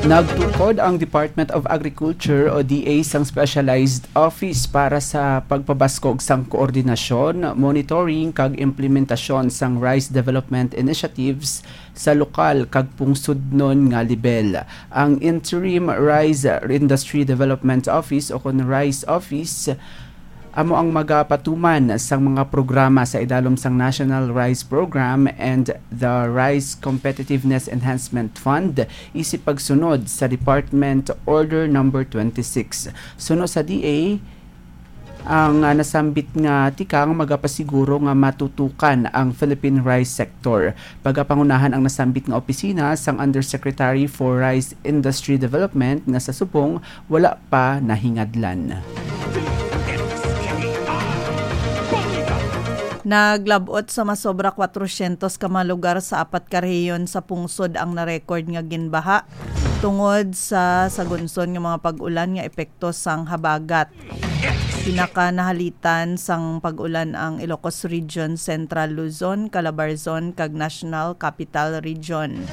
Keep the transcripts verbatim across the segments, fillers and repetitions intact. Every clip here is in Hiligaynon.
Nagtukod ang Department of Agriculture o D A sang specialized office para sa pagpabaskog sang koordinasyon, monitoring kag implementasyon sang rice development initiatives sa lokal kag pungsodnon nga lebel. Ang Interim Rice Industry Development Office o kon rice office amo ang magapatuman sang mga programa sa idalom sang National Rice Program and the Rice Competitiveness Enhancement Fund isip pagsunod sa Department Order Number twenty-six. Suno sa D A, ang, ah, nasambit nga tikang magapasiguro nga matutukan ang Philippine rice sector. Pagapangunahan ang nasambit nga opisina sang Undersecretary for Rice Industry Development nga sa subong wala pa nahingadlan. Naglab-ot sa masobra kwatrosyentos ka mga lugar sa apat ka rehiyon sa pungsod ang na-record nga ginbaha tungod sa sagunson nga mga pag-ulan nga epekto sang habagat. Pinakanahalitan sang pag-ulan ang Ilocos Region, Central Luzon, Calabarzon, kag National Capital Region.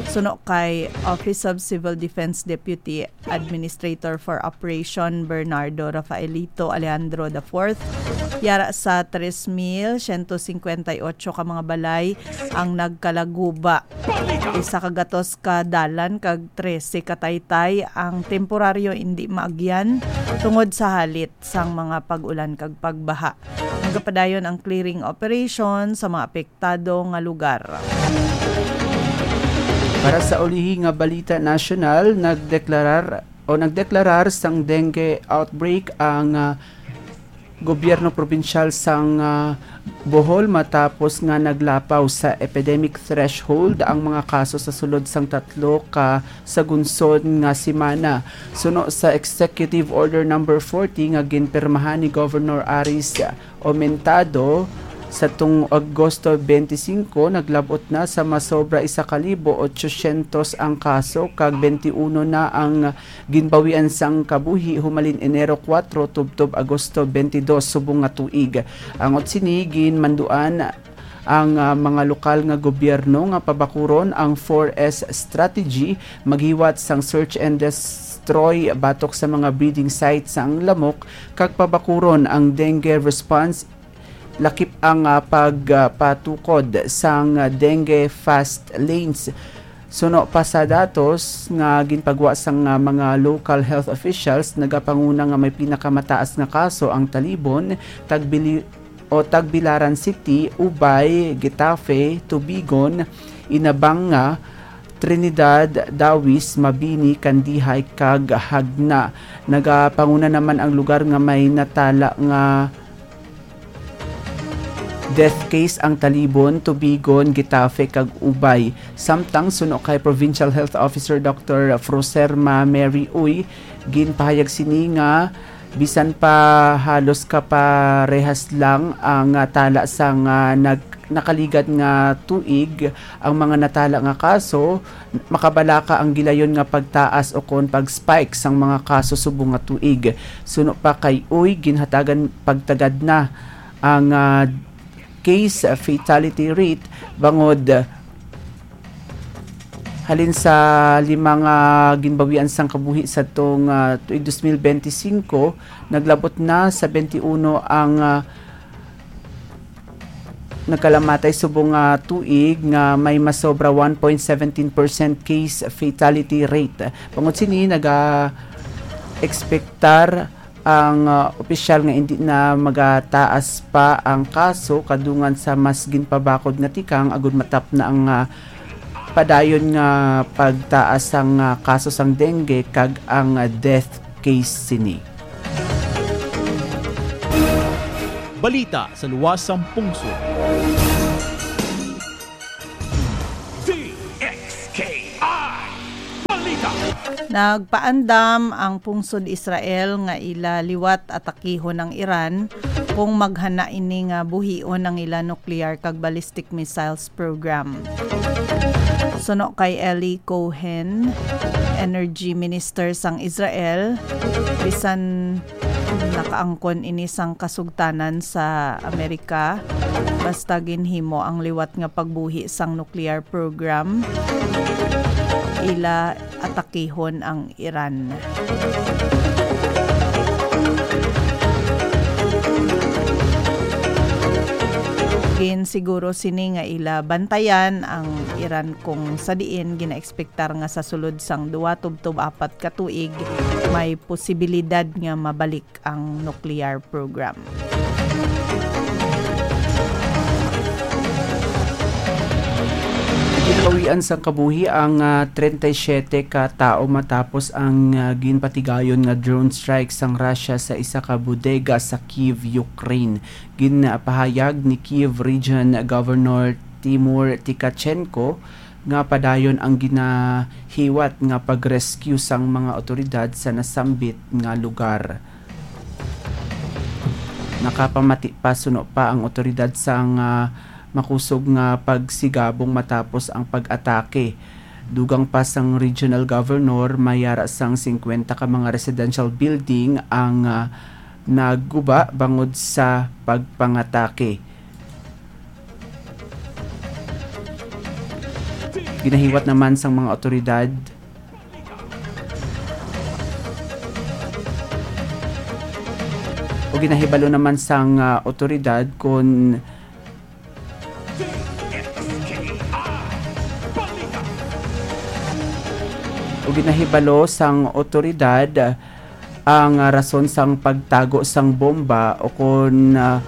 Suno kay Office of Civil Defense Deputy Administrator for Operation Bernardo Rafaelito Alejandro the fourth, yara sa tres mil siyento singkwenta y ocho ka mga balay ang nagkalaguba. Isa ka gatos ka dalan kag trese ka taytay ang temporaryo indi maagyan tungod sa halit sang mga pag-ulan kag pagbaha. Nagapadayon ang clearing operation sa mga apektado nga lugar. Para sa ulihi nga balita nasyonal, nagdeklarar o nagdeklarar sang dengue outbreak ang, ah, gobyerno probinsyal sang, ah, Bohol matapos nga naglapaw sa epidemic threshold ang mga kaso sa sulod sang tatlo ka sagunson nga semana. Suno sa Executive Order Number forty nga ginpirmahan ni Governor Aris Aumentado, sa tung Agosto twenty-five, naglab-ot na sa masobra isa ka libo otsosyentos ang kaso kag twenty-one na ang ginbawian sang kabuhi humalin Enero kuwatro tubtob Agosto twenty-dos subong nga tuig. Angot sini, ginmanduan ang, ah, mga lokal nga gobyerno nga pabakuron ang four S strategy, maghiwat sang search and destroy batok sa mga breeding site sang lamok, kag pabakuron ang dengue response, lakip ang, ah, pagpatukod sang dengue fast lanes. Suno pa sa datos nga ginpagwa sang, ah, mga local health officials, nagapanguna nga may pinakamataas nga kaso ang Talibon, Tagbili-, o Tagbilaran City, Ubay, Getafe, Tubigon, Inabanga, Trinidad, Dawis, Mabini, Kandihay, kag Jagna. Nagapanguna naman ang lugar nga may natala nga death case ang Talibon, Tubigon, Getafe, kag Ubay. Samtang suno kay Provincial Health Officer Doctor Froserma Mary Uy, ginpahayag sini nga bisan pa halos kaparehas lang ang, ah, tala sang, ah, nag-, nakaligad nga tuig, ang mga natala nga kaso, makabalaka ang gilayon nga pagtaas o kon pag-spike sang mga kaso subong nga tuig. Suno pa kay Uy, ginhatagan pagtagad na ang, ah, case fatality rate bangod halin sa lima nga ginbawian sang kabuhi sa tong, ah, tuig dos mil benti singko, naglabot na sa benti uno ang, ah, nagkalamatay subong nga tuig nga may masobra one point seventeen percent case fatality rate. Bangod sini, naga-ekspektar ang, ah, opisyal nga indi na magataas pa ang kaso kadungan sa mas ginpabakod nga tikang agud matapna ang, ah, padayon nga pagtaas sang, ah, kaso sang dengue kag ang, ah, death case sini. Balita sa luwas sang pungsod. D X K I Balita. Nagpaandam ang pungsod Israel nga ila liwat atakihon ang Iran kung maghana ini nga buhion ang ila nuclear kag ballistic missiles program. Suno kay Eli Cohen, Energy Minister sang Israel, bisan nakaangkon ini sang kasugtanan sa Amerika, basta ginhimo ang liwat nga pagbuhi sang nuclear program, ila atakihon ang Iran. Ginsiguro sini nga ila bantayan ang Iran, kung sa diin ginaekspektar nga sa sulod sang duwa tubtob apat ka tuig may posibilidad nga mabalik ang nuclear program. Ginabawian sang kabuhi ang, ah, treinta y siete ka tawo matapos ang, ah, ginpatigayon nga drone strike sang Russia sa isa ka bodega sa Kyiv, Ukraine. Ginpahayag ni Kyiv Region Governor Timur Tikachenko nga padayon ang ginahiwat nga pag-rescue sang mga awtoridad sa nasambit nga lugar. Nakapamati pa suno pa ang awtoridad sang, ah, makusog nga pagsigabong matapos ang pag-atake. Dugang pa sang regional governor, may ara sang singkwenta ka mga residential building ang, ah, naguba bangod sa pagpangatake. Ginahiwat naman sang mga awtoridad o ginahibalo naman sang, ah, awtoridad kon o ginahibalo sang awtoridad ang, ah, rason sang pagtago sang bomba o kon, ah,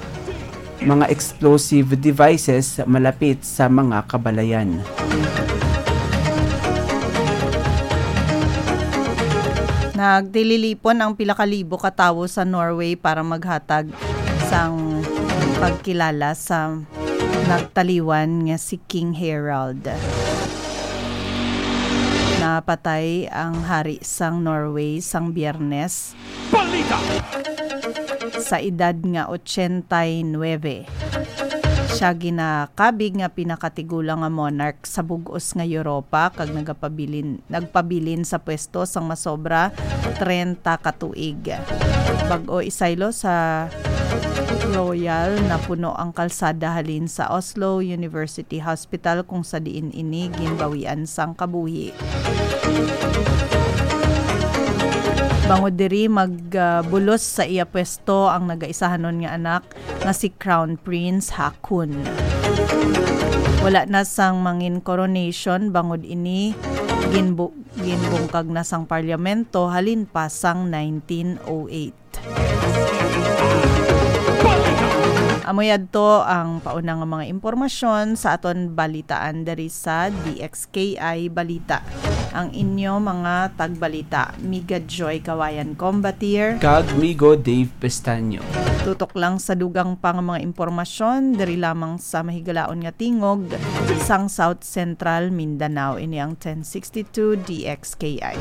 mga explosive devices malapit sa mga kabalayan. Nagtililipon ang pila ka libo ka tawo sa Norway para maghatag sang pagkilala sa nagtaliwan nga si King Harald. Napatay ang hari sang Norway sang Biyernes Balita! Sa edad nga ochenta y nuebe. Siya ginakabig nga pinakatigulang nga monarch sa bug-os nga Europa kag nagapabilin, nagpabilin sa pwesto sang masobra treinta ka tuig. Bag-o isaylo sa Royal, napuno ang kalsada halin sa Oslo University Hospital, kung sa diin ini ginbawian sang kabuhi. Bangod diri, magbulos sa iya pwesto ang nagaisahanon nga anak nga si Crown Prince Haakon. Wala na sang mangin coronation bangod ini ginbu-, ginbungkag na sang parliamento halin pa sang nineteen oh eight. Amo yadto ang pauna nga mga impormasyon sa aton balitaan diri sa D X K I Balita. Ang inyo mga tagbalita, Miga Joy Kawayan Combatier. Kag Migo Dave Pestaño. Tutok lang sa dugang pa nga mga impormasyon diri lamang sa mahigalaon nga tingog sang South Central Mindanao. Ini ang ten sixty-two D X K I.